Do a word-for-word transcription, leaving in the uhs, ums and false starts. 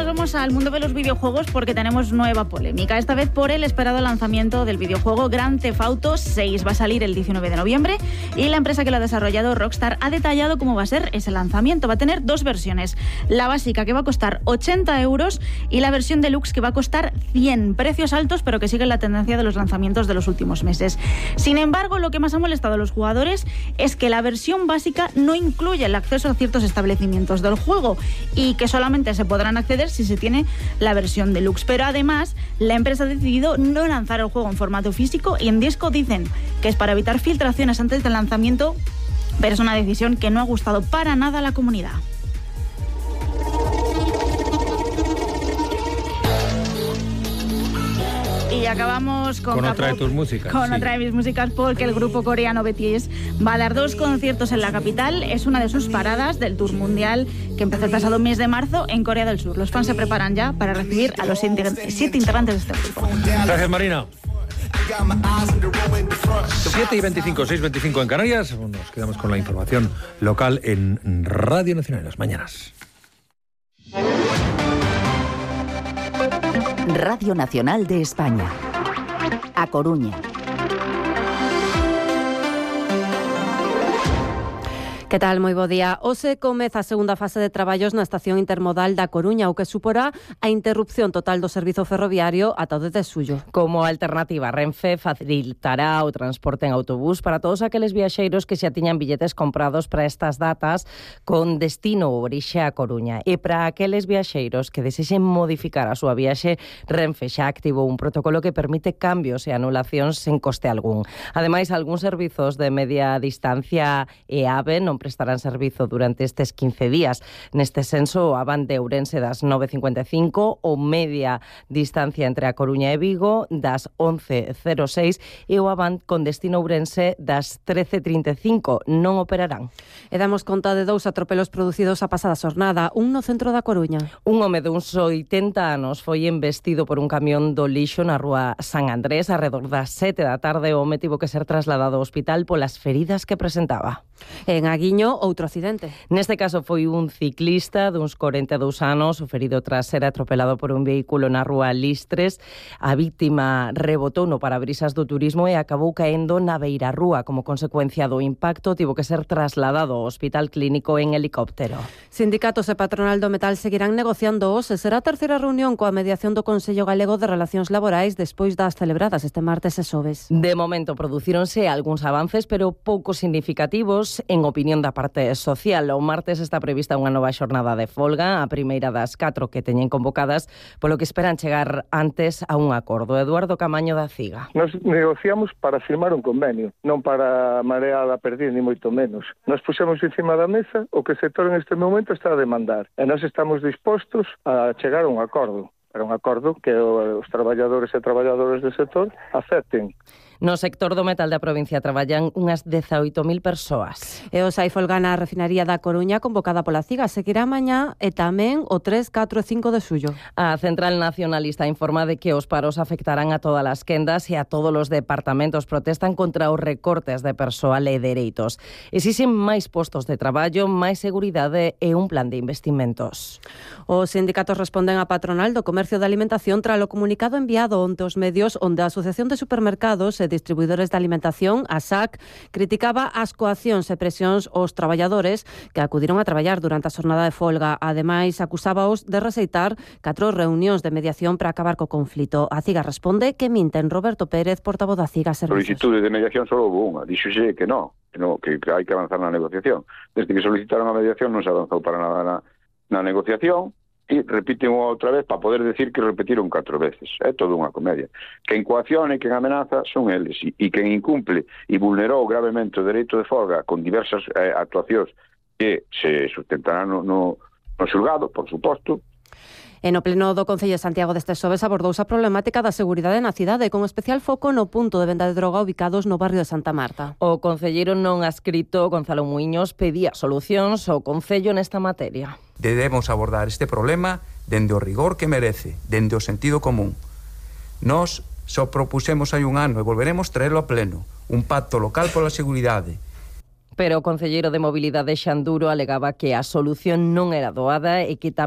vamos al mundo de los videojuegos porque tenemos nueva polémica. Esta vez por el esperado lanzamiento del videojuego Grand Theft Auto seis. Va a salir el diecinueve de noviembre y la empresa que lo ha desarrollado, Rockstar, ha detallado cómo va a ser ese lanzamiento. Va a tener dos versiones. La básica, que va a costar ochenta euros, y la versión deluxe, que va a costar cien. Precios altos, pero que siguen la tendencia de los lanzamientos de los últimos meses. Sin embargo, lo que más ha molestado a los jugadores es que la versión básica no incluye el acceso a ciertos establecimientos del juego y que solamente se podrán acceder si se tiene la versión deluxe. Pero además, la empresa ha decidido no lanzar el juego en formato físico y en disco. Dicen que es para evitar filtraciones antes del lanzamiento, pero es una decisión que no ha gustado para nada a la comunidad. Y acabamos con, con otra K-pop, de tus músicas. Con sí. otra de mis músicas, porque el grupo coreano B T S va a dar dos conciertos en la capital. Es una de sus paradas del tour mundial que empezó el pasado mes de marzo en Corea del Sur. Los fans se preparan ya para recibir a los siete integrantes de este grupo. Gracias, Marina. siete y veinticinco, seis y veinticinco en Canarias. Nos quedamos con la información local en Radio Nacional en las mañanas. Radio Nacional de España. A Coruña. Que tal? Moi bo día. Hoxe comeza a segunda fase de traballos na estación intermodal da Coruña, o que suporá a interrupción total do servizo ferroviario ata o dez de xullo. Como alternativa, Renfe facilitará o transporte en autobús para todos aqueles viaxeiros que xa tiñan billetes comprados para estas datas con destino ou orixe a Coruña. E para aqueles viaxeiros que desexen modificar a súa viaxe, Renfe xa activou un protocolo que permite cambios e anulacións sen coste algún. Ademais, algúns servizos de media distancia e AVE non prestarán servizo durante estes quince días. Neste senso, o Avan de Ourense das nove e cincuenta e cinco, o media distancia entre a Coruña e Vigo das once e cero seis e o Avan con destino Ourense das trece e trinta e cinco non operarán. E damos conta de dous atropelos producidos a pasada xornada, un no centro da Coruña. Un home duns oitenta anos foi embestido por un camión do lixo na rúa San Andrés arredor das sete da tarde. O home tivo que ser trasladado ao hospital polas feridas que presentaba. En Aguiño, outro accidente. Neste caso foi un ciclista duns corenta e dous anos, o ferido tras ser atropelado por un vehículo na rúa Listres. A víctima rebotou no parabrisas do turismo e acabou caendo na beirarrúa. Como consecuencia do impacto, tivo que ser trasladado ao hospital clínico en helicóptero. Sindicatos e patronal do metal seguirán negociando hoxe. Será a terceira reunión coa mediación do Consello Galego de Relacións Laborais despois das celebradas este martes e xoves. De momento producíronse algúns avances, pero pouco significativos en opinión da parte social. O martes está prevista unha nova xornada de folga, a primeira das catro que teñen convocadas, polo que esperan chegar antes a un acordo. Eduardo Camaño da CIGA. Nos negociamos para firmar un convenio, non para marear a perder, ni moito menos. Nos puxemos encima da mesa o que o sector en este momento está a demandar, e nós estamos dispostos a chegar a un acordo. Para un acordo que os traballadores e traballadoras do sector acepten. No sector do metal da provincia traballan unhas dezaoito mil persoas. E o sai folga na refinaría da Coruña convocada pola CIGA seguirá mañá e tamén o tres, catro e cinco de xullo. A Central Nacionalista informa de que os paros afectarán a todas as quendas e a todos os departamentos. Protestan contra os recortes de persoal e dereitos. Exixen máis postos de traballo, máis seguridade e un plan de investimentos. Os sindicatos responden a patronal do comercio de alimentación tras o comunicado enviado onte aos medios onde a Asociación de Supermercados e Distribuidores de Alimentación, a S A C, criticaba as coaccións e presións aos traballadores que acudiron a traballar durante a xornada de folga. Ademais, acusábaos de rexeitar catro reunións de mediación para acabar co conflito. A CIGA responde que minten. Roberto Pérez, portavoz da CIGA Servicios. Solicitude de mediación só houve unha. Dixoxe que non, que, no, que hai que avanzar na negociación. Desde que solicitaron a mediación non se avanzou para nada na, na negociación. E repiten outra vez para poder decir que repetiron catro veces. É toda unha comedia. Quen coacciona e quen amenaza son eles. E, e quen incumple e vulnerou gravemente o dereito de folga con diversas eh, actuacións que se sustentarán no, no, no xulgado, por suposto. E no pleno do Concello de Santiago deste xoves abordouse a problemática da seguridade na cidade, con especial foco no punto de venda de droga ubicados no barrio de Santa Marta. O concelleiro non adscrito, Gonzalo Muiños, pedía solucións ao Concello nesta materia. Debemos abordar este problema dende o rigor que merece, dende o sentido común. Nós só propusemos hai un ano e volveremos traerlo a pleno, un pacto local pola seguridade. Pero o concelleiro de Mobilidade Xanduro alegaba que a solución non era doada e que tamén